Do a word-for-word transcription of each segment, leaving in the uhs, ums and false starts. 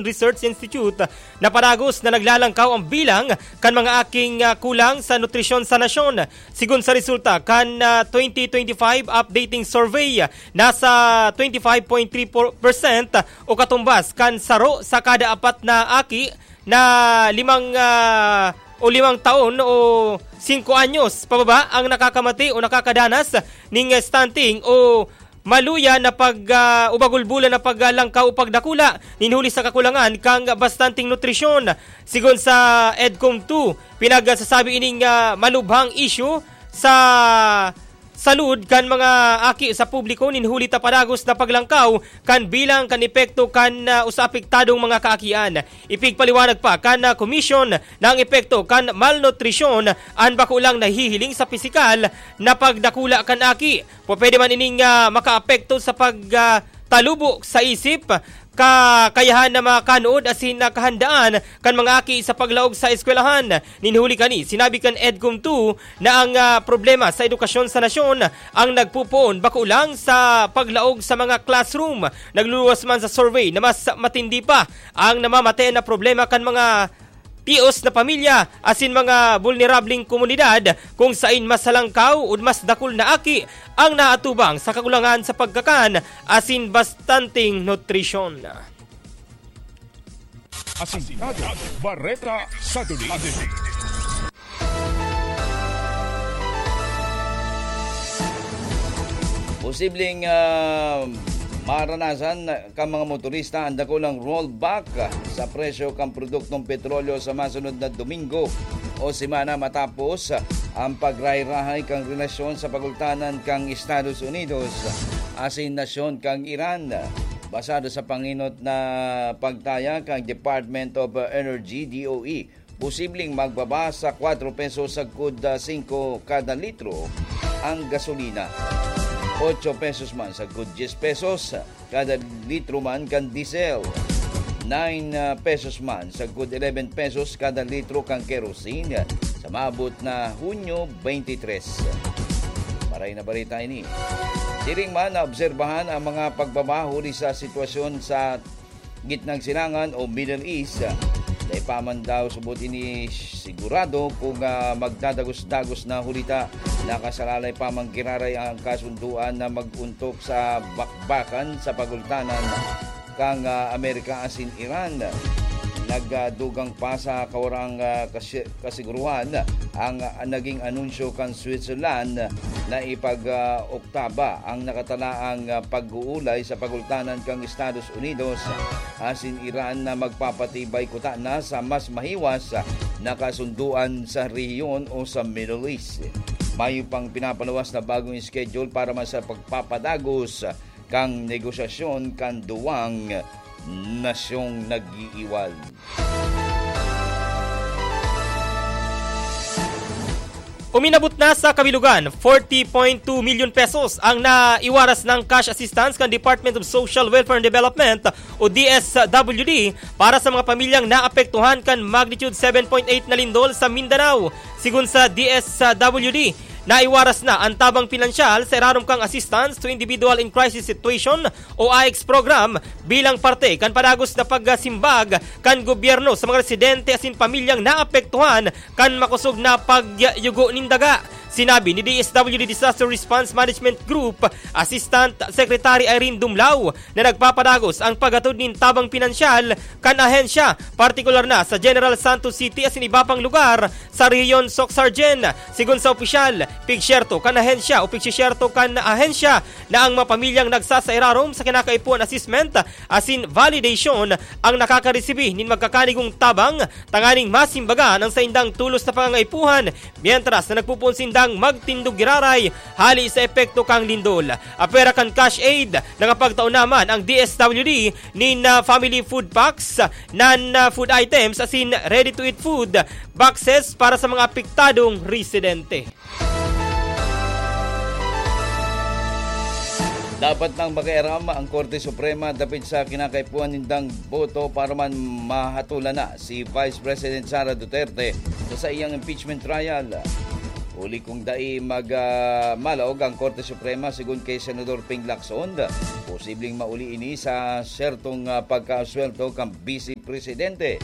Research Institute na padagos na naglalangkaw ang bilang kan mga aking, ah, kulang sa nutrisyon sa nasyon. Sigon sa resulta kan, ah, twenty twenty-five updating survey, nasa twenty-five point three four percent o katumbas kan saro sa kada apat na aki na limang, ah, o limang taon o singko anyos pababa ang nakakamati o nakakadanas ning stunting o maluya na pag, ah, o bagulbulan na paglangkaw o pagdakula nin huli sa kakulangan kan bastanteng nutrisyon. Sigon sa EDCOM two, pinagsasabi ining, ah, malubhang isyu sa salud kan mga aki sa publiko nin huli ta padagos na paglangkaw kan bilang kan epekto kan, ah, usa apektadong mga kaakian. Ipigpaliwanag pa kan, ah, komisyon na ang epekto kan malnutrisyon an bako lang nahihiling sa pisikal na pagdakula kan aki. Pwede man ining, ah, makaapekto sa pag, ah, talubo sa isip, kakayahan na makakanood asin na kahandaan kan mga aki sa paglaog sa eskwelahan. Nin huli kani, sinabi kan EDCOM two na ang, ah, problema sa edukasyon sa nasyon ang nagpupoon bako lang sa paglaog sa mga classroom. Nagluluwas man sa survey na mas matindi pa ang namamate na problema kan mga tios na pamilya asin mga bulnerableng komunidad kung sain mas halangkaw o mas dakul na aki ang naatubang sa kakulangan sa pagkakan asin bastanteng nutrisyon. Asintado, Bareta sa Duli. Posibleng, ah, maranasan kan mga motorista ang dakulang rollback sa presyo kan produktong petrolyo sa masunod na Domingo o semana matapos ang pagrahay-rahay kan relasyon sa pagultanan kan Estados Unidos asin nasyon kan Iran. Basado sa pangenot na pagtaya kan Department of Energy, D O E, posibleng magbaba sa kwatro pesos sagkod, ah, singko kada litro ang gasolina, otso pesos man sagkod dyes pesos kada litro man kan diesel, nine, ah, pesos man sagkod eleven pesos kada litro kan kerosene sa maabot na Hunyo twenty-three. Maray na bareta ini. Siring man, naobserbahan ang mga pagbaba huli sa sitwasyon sa gitnang silangan o Middle East. Dai pa man daw subot ini sigurado kung, ah, magdadagos-dagos na huli ta nakasalalay pa man giraray ang kasunduan na mag-untok sa bakbakan sa pagultanan kan, ah, Amerika asin Iran. Nagdugang pa sa kawarang, ah, kasi-, kasiguruhan ang, ah, naging anunsyo kan Switzerland na ipag, ah, Oktaba ang nakatalaang, ah, pag-uulay sa pagultanan kan Estados Unidos asin Iran na magpapatibay kutana sa mas mahiwas na kasunduan sa rehiyon o sa Middle East. Mayo pang pinapaluwas na bagong schedule para man sa pagpapadagos kan negosasyon kan duwang nasyong nag-iiwal. Uminabot na sa kabilugan, forty point two milyon pesos ang naiwaras ng cash assistance kan Department of Social Welfare and Development o D S W D para sa mga pamilyang naapektuhan kan magnitude seven point eight na lindol sa Mindanao. Sigon sa D S W D, naiwaras na ang tabang pinansyal sa irarom kang Assistance to Individual in Crisis Situation o AICS program bilang parte kan padagos na pagsimbag kan gobyerno sa mga residente asin pamilyang naapektuhan kan makosog na pagyugo nin daga. Sinabi ni D S W D Disaster Response Management Group Assistant Secretary Irene Dumlao na nagpapadagos ang paghatod nin tabang pinansyal kan ahensya, partikular na sa General Santos City asin iba pang lugar sa rehiyon Soc-Sargen. Sigon sa opisyal, pigsyerto kan ahensya o pigsisyerto kan ahensya na ang mga pamilyang nagsasairarom sa kinakaipuhan assessment asin validation ang nakakaresibi nin magkakanigong tabang tanganing masimbagan ang saindang tulos na pangangaipuhan, mientras na nagpupoon sindang magtindog giraray hali sa epekto kan lindol. Apwera kan cash aid, nakapagtao naman ang D S W D nin, ah, family food packs, non, ah, food items asin ready-to-eat food boxes para sa mga apektadong residente. Dapat nang makiaram ang Korte Suprema dapit sa kinakaipuhan nindang boto para man mahatulan na si Vice President Sara Duterte sa saiyang impeachment trial. Huli kung dai mag, ah, malaog ang Korte Suprema, sigon kay Senador Ping Lacson, Posibleng mauli ini sa sertong, ah, pagkasweldo kan Vice Presidente.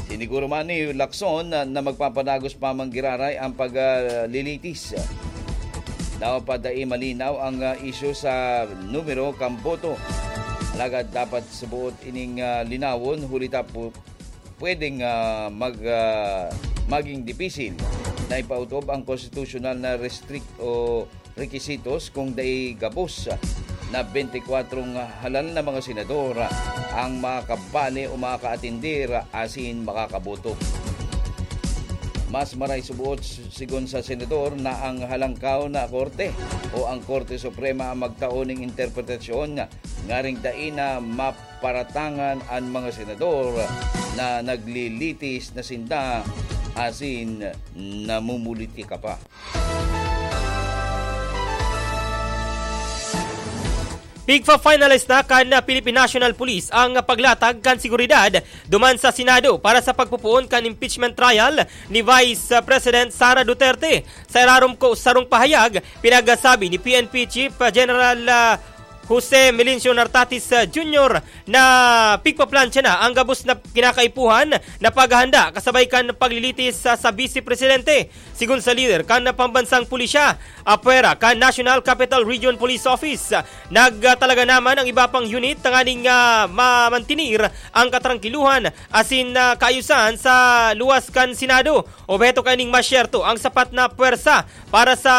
Siniguro man ni Lacson na, na magpapadagos pa man giraray ang paglilitis. Dapat dai malinaw ang, ah, isyu sa numero kan boto. Alagad dapat subuot ining, ah, linawon, huli ta pu-, pwedeng, ah, mag-, ah, maging dipisil na ipautob ang konstitusyonal na restrict o rekisitos kung dai gabos na bente kwatro halal na mga senador ang makakabali o makakaatender asin makakaboto. Mas maray subuot, sigon sa senador, na ang Halangkaw na Korte o ang Korte Suprema ang magtao ning interpretasyon ngaring dai na maparatangan an mga senador na naglilitis na sinda asin namumulitika pa. Pigfa-finalize na kan Philippine National Police ang paglatag kan seguridad duman sa Senado para sa pagpopoon kan impeachment trial ni Vice President Sara Duterte. Sa irarom ko sarong pahayag, pinagsabi ni P N P Chief General, ah, Jose Melencio Nartatis, ah, Junior na pigpaplansya na ang gabos na kinakaipuhan na paghahanda kasabay kan paglilitis sa, sa Vice Presidente. Sigon sa lider kan pambansang pulisya, apwera kan National Capital Region Police Office, nagtalaga naman ang iba pang unit tanganing, ah, mamantinir ang katrangkiluhan asin, ah, kaayusan sa luwas kan Senado. Obheto kaining masyerto ang sapat na pwersa para sa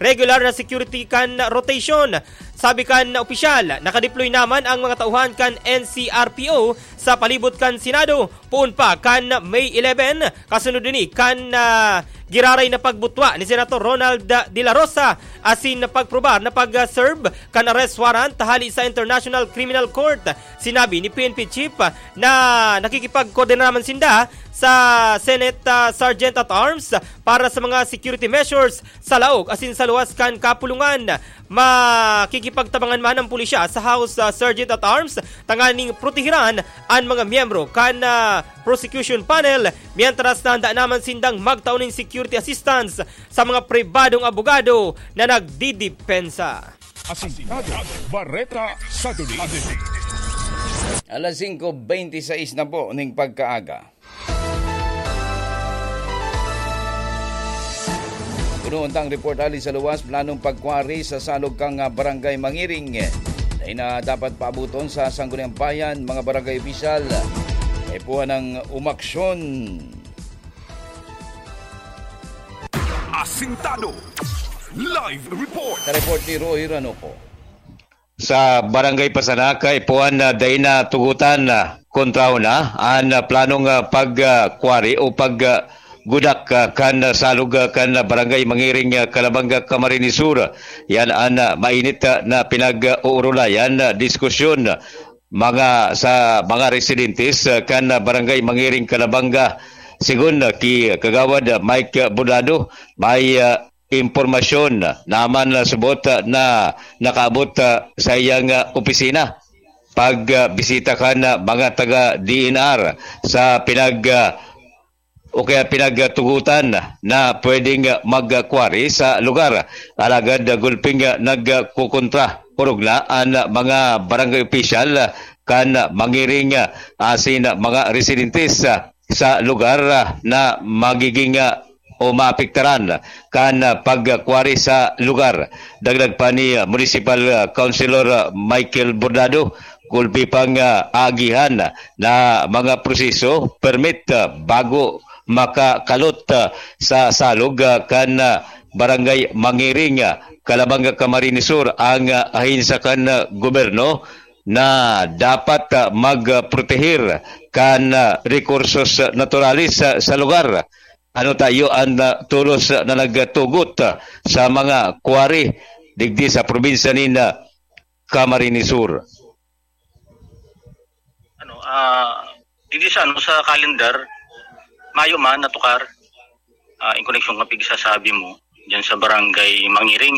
regular na security kan rotation. Sabi kan opisyal, nakadeploy naman ang mga tauhan kan N C R P O sa palibot kan Senado. Poon pa kan May eleven, kasunod ini kan, ah, giraray na pagbutwa ni Senator Ronald De La Rosa asin pagprobar na pag-serve kan arrest warrant hali sa International Criminal Court. Sinabi ni P N P Chief na nakikipagkoordina naman sinda sa Senate, ah, Sergeant at Arms para sa mga security measures sa laog asin sa luwas kan kapulungan. Makikipagtabangan man ang pulisya sa House, ah, Sergeant at Arms tanganing protehiran an mga miyembro kan, ah, prosecution panel, mientras na handa naman sindang magtao nin security assistance sa mga pribadong abogado na nagdidepensa. Asintado, Bareta sa Duli. Alas singko bente y seis na po ning pagkaaga. Puno untang report hali sa luwas, planong pagkwari sa salog kan, ah, Barangay Mangiring. Dai na dapat paabuton sa Sangguniang Bayan, mga barangay opisyal. Kaipuhan ng umaksyon. Asintado. Live report. Sa report ni Roy Ranoco. Sa Barangay Pasanak, kaipuhan na dai na tugutan na kontrahon na an, ah, planong, ah, pag, ah, kwari o pag, ah, gudak, ah, kan salog, ah, kan Barangay Mangiring, ah, Calabanga, Camarines Sur. Yan an, ah, mainit, ah, na pinag-uurulayan, ah, diskusyon, ah, mga, sa mga residentes, ah, kan, ah, Barangay Mangiring, Calabanga. Sigon, ah, ki Kagawad, ah, Mike, ah, Bordado, may, ah, impormasyon naman na subot, ah, na nakaabot, ah, sa iyang, ah, opisina. Pag, ah, bisita kan, ah, mga taga D N R sa pinag, ah, o kaya pinagtugutan na pwedeng, ah, magkwari sa lugar. Alagad, ah, gulping, ah, nagkukontra, orog na an, ah, mga barangay opisyal, ah, kan, ah, Mangiring, ah, asin, ah, mga residentes, ah, sa lugar, ah, na magiging, ah, o maapektaran kan, ah, pagkwari sa lugar. Dagdag pa ni, ah, Municipal, ah, Councilor, ah, Michael Bordado, gulpi pang, ah, aagihan na mga proseso, permit, ah, bago makakalot, ah, sa salog, ah, kan, ah, Barangay Mangiring, ah, Calabanga, Camarines Sur, ang, ah, ahensya kan, ah, gobyerno na dapat, ah, magprotehir kan, ah, rekursos naturales sa, sa lugar. Ano tayo ang, ah, tolos na nagtugot, ah, sa mga quarry digdi sa probinsya nin, ah, Camarines Sur? Ano, ah, digdi sa, ano, sa calendar, mayo man natukar, ah, in koneksyon kan pigsasabi mo, diyan sa Barangay Mangiring,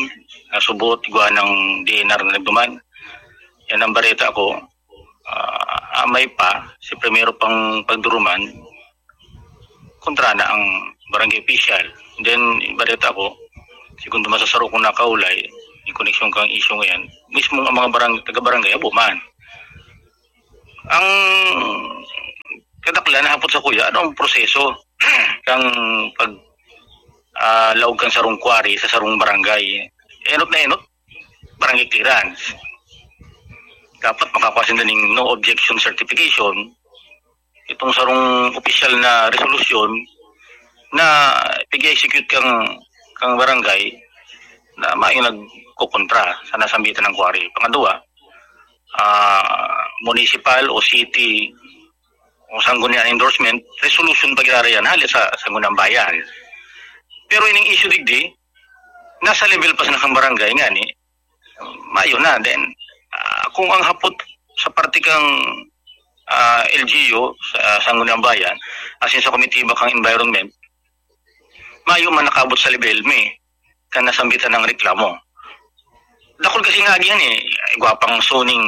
ah, subot, igwa ng D N R na nagduman. Yan ang bareta ko. Ah, amay pa, si primero pang pagduruman, kontra na ang barangay official. Then, bareta ko, segundo masasaro kong nakaulay, in koneksyon kang isyu ngayan, mismong ang mga barang-, taga-barangay, abo man. Ang kadaklan na hapot sa kuya, ano ang proseso kang pag, ah, laog kan sarong quarry sa sarong barangay? Enot na enot, barangay clearance. Dapat makakuha sinda ning no objection certification, itong sarong opisyal na resolusyon na pig-execute kang, kang barangay na mayo nagkokontra sa nasambitan ng quarry. Pangadwa, ah, municipal o city o sangguniang endorsement, resolution pa ginarayan hali sa sangguniang bayan. Pero ining issue digdi, nasa level pa sa nakang barangay nga ni, mayo na. Then, ah, kung ang hapot sa parte kang, ah, L G U, sa sangguniang bayan, as in sa komitiba kang environment, mayo man nakaabot sa level mi kan nasambitan ng reklamo. Dakul kasi nga agihan eh, igwa pang zoning,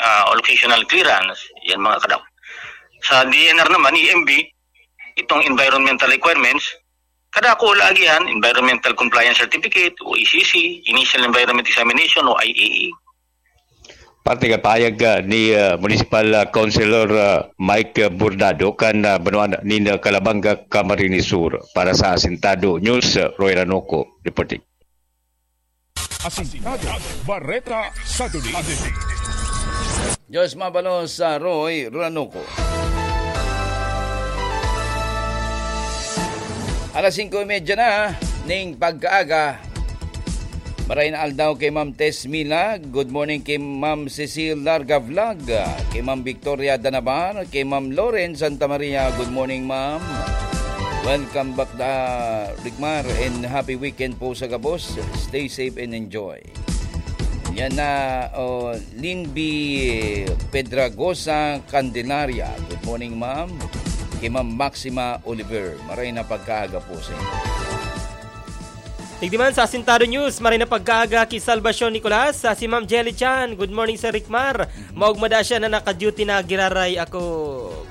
ah, o locational clearance, yan mga kadam. Sa D N R naman, E M B, itong environmental requirements, kadakul agihan, environmental compliance certificate o E C C, initial environment examination o I E E. Parte ka payag, ah, ni, ah, Municipal, ah, Councilor, ah, Mike, ah, Bordado kan, ah, banwaan nin, ah, Calabanga, Camarines Sur. Para sa Asintado News, ah, Roy Ranoco reporting. Asintado, Bareta, Saturday Edition. Diyos mabalos sa Roy Ranoco. Alas singko y media na ning pagkaaga. Maray na aldaw kay Ma'am Tess Mila. Good morning kay Ma'am Cecil Larga Vlog. Kay Ma'am Victoria Danabar. Kay Ma'am Lauren Santa Maria. Good morning, Ma'am. Welcome back, da, Rikmar, and happy weekend po sa gabos. Stay safe and enjoy. Yan na, oh, Linby Pedragosa Candelaria. Good morning, ma'am. Kay Ma'am Maxima Oliver. Maray na pagkaaga po sa inyo. Tigdi man sa Asintado News, maray na pagkaaga ki Salvacion Nicolas, sa si Ma'am Jelly Chan. Good morning, Sir Rikmar. Mhm. Maugma da siya na naka-duty na giraray ako,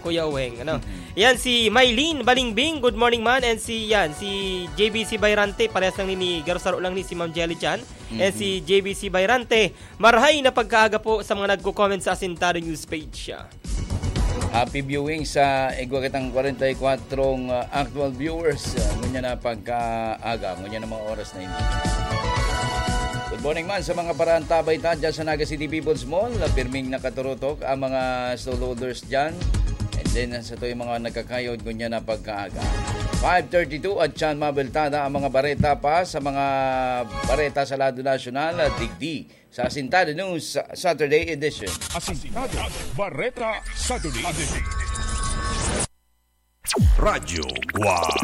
Kuya Uweng, ano? Mhm. Yan si Mylene Balingbing, good morning man. And si, yan, si J B C Bayrante, parehas lang ni, ni garo saro lang ni si Ma'am Jelly Chan. And Mhm. si J B C Bayrante, marhay na pagkaaga po sa mga nagko-comment sa Asintado News page. Happy viewing sa igwa kitang kwarenta y kwatro, ah, actual viewers. Ah, ngunyan na pagkaaga, ngunyan na mga oras na ini. Good morning man sa mga paraantabay ta dyan sa Naga City People's Mall. Pirming nakaturutok ang mga stallholders dyan. And then, sa to yung mga nagkakayod, ngunyan na pagkaaga. Five thirty-two at Chan Mabeltada ang mga bareta pa sa mga bareta sa lado nasyonal. Digdi sa Asintado News Saturday Edition. Asintado, Bareta, Saturday Edition. Radyo Guwang.